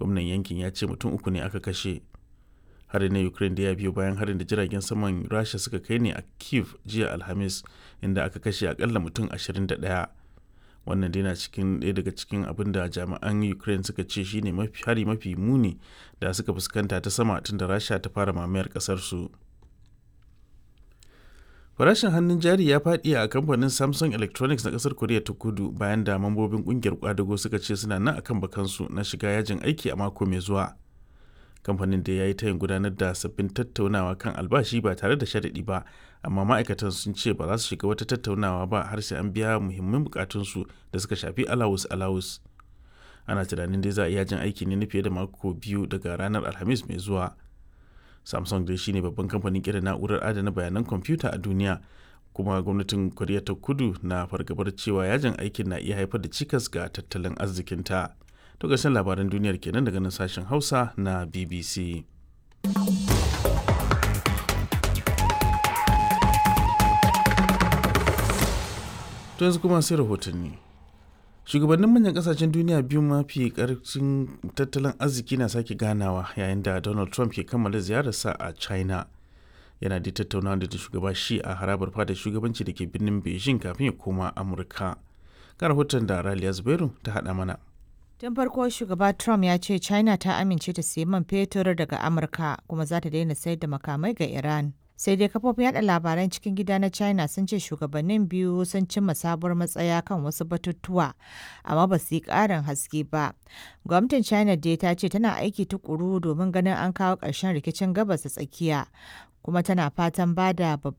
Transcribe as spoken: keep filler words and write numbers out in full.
Gwamnan yankin ya ce mutum uku ne aka kashe. Harin na Ukraine da ya biyo bayan harin da jiragen saman Rasha suka kai ne a Kiev jiya Alhamis, inda aka kashe akalla mutum ashirin da ɗaya. Wannan dai na cikin ɗaya daga cikin abin da jami'an Ukraine suka ce shine mafi hari mafi muni da suka fuskanta ta sama tun da Rasha ta fara mamayar ƙasar su. Farashin hannun jari ya faɗi a kamfanin Samsung Electronics na ƙasar Koriya ta Kudu bayan da mambobin ƙungiyar kwadago suka ce suna nan akan bakansu na shiga yajin aiki a mako mai zuwa. Kamfanin da ya yi tayin gudanar da sabbin tattaunawa kan albashi ba tare da sharaɗi ba, amma ma'aikatan sun ce ba za su shiga wata tattaunawa ba har sai an biya muhimman bukatunsu da suka shafi alawus alawus. Ana tunanin dai za a iya jin aiki ne na fiye da mako biyu daga ranar Alhamis mai zuwa. Samsung dai shine babban kamfanin kera na'urar adana bayanan kwamfuta a duniya, kuma gwamnatin Koriya ta Kudu na fargabar cewa yajin aikin na iya haifar da cikas ga tattalin arzikinta. To, ƙarshen labaran duniyar kenan daga nan sashen Hausa na B B C. To, yanzu kuma sai rahotanni. Shugabannin manyan kasashen duniya biyu mafi karfin tattalin arziki na sake ganawa yayin da Donald Trump ke kammala ziyararsa a China. Yana da tattaunawa da shugaba shi a harabar fadar shugabanci da ke birnin Beijing kafin ya koma Amurka. Ga rahoton da Raliya Zubairu ta haɗa mana. Tun farko shugaba Trump ya ce China ta amince ta sayi man fetur daga Amurka kuma za ta daina sayar da makamai ga Iran. Sai dai kafofin yada labaran cikin gida na China sun ce shugabannin biyu sun cimma sabuwar matsaya kan wasu batutuwa, amma ba su yi ƙarin haske ba. Gwamnatin China dai ta ce tana aiki tukuru domin ganin an kawo ƙarshen rikicin Gabas ta Tsakiya, kuma tana fatan ba da babban